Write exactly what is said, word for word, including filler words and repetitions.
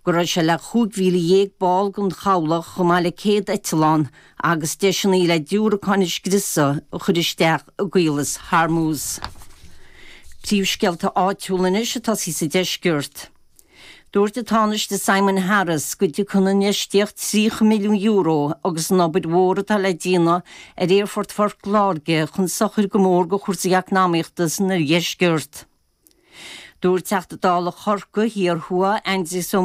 go raibh sé le cúig mhíle dhéag ball den chabhlach chomh maith le céad eitleán agus deiseanna le diúracáin a scriosadh a chur isteach i gCaolas Hormuz. Príomhscéalta áitiúla anois atá sí sa deisceart. Dúirt an Tánaiste Simon Harris go dtiocfaidh an infheistíocht tríocha milliún euro agus an obair mhór atá le déanamh ar Aerfort Phort Láirge chun sochair go mór do chúrsaí eacnamaíochta san oirdheisceart. Dúirt Teachta Dála Chorcaí Thiar Thuaidh Aindrias Ó